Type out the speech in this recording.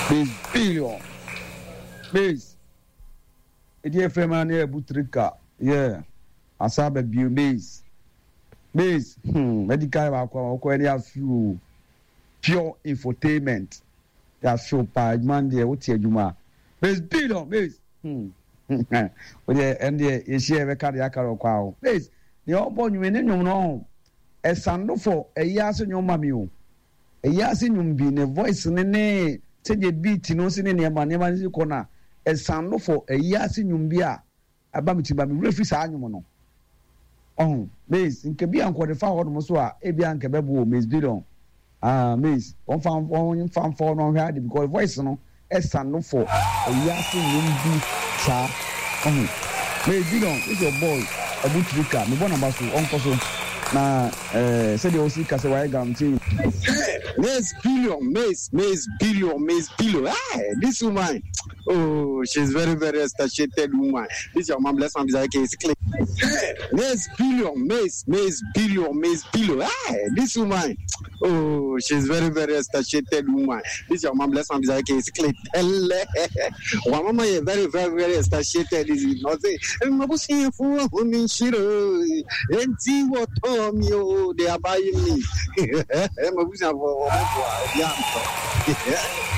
Miss Billion. Miss. Ɛdi efrɛ ma ne abu trika. Yeah. Asa aba bio Miss. Miss. Hmm. Medical baako a wɔkɔ ɛne afi o. Pure infotainment. Yɛafi o paa adwuma no deɛ wote adwuma. Miss Billion. Miss. Hmm. Wodeɛ ɛn deɛ yɛhyia yɛbɛka deɛ aka no ɔkwa o. Miss. Nea ɔbɔ nnwom ne nnwom no ɔho. Ɛsando fɔ ɛyi ase nnwom ma mi o. Eyi ase nnwom bi, ne voice no ne sɛdeɛ beat no si ne nneɛma nneɛma no si kɔ no a, ɛsando for eyi ase nnwom bi a aba me tirim ba me werɛ fi saa nnwom no. Ɔho, Maze, nka bi a nka ɔde fa hɔ nom so a, ebi a nka ɛbɛboa o, Maze Billion. Ah, Maze, wɔmfa wɔmfa mfa hɔ na ɔnhwɛ ade because voice no ɛsando for eyi ase nnwom bi saa. Ɔho, Maze Billion, this your boy, Abu Trika, mebɔ n'aba so, ɔnkɔ so na eh, sɛdeɛ ɔsi ka sɛ wayɛ galamsey. Maze Billion, Maze, Maze Billion, Maze Billion. Hey, this woman, oh, she's very, very satiated woman. This your mom, bless mom, okay, it's clean. Maze Billion, Maze, Maze Billion, Maze Billion. Hey, this woman, oh, she's very, very satiated woman. This your mom, bless mom, okay, it's clean. Wa mama yɛ very, very, very satiated. Is not say, Enti wɔtɔɔ me o, they are buying me. Mabusuafo wɔbɛboa obi antɔ.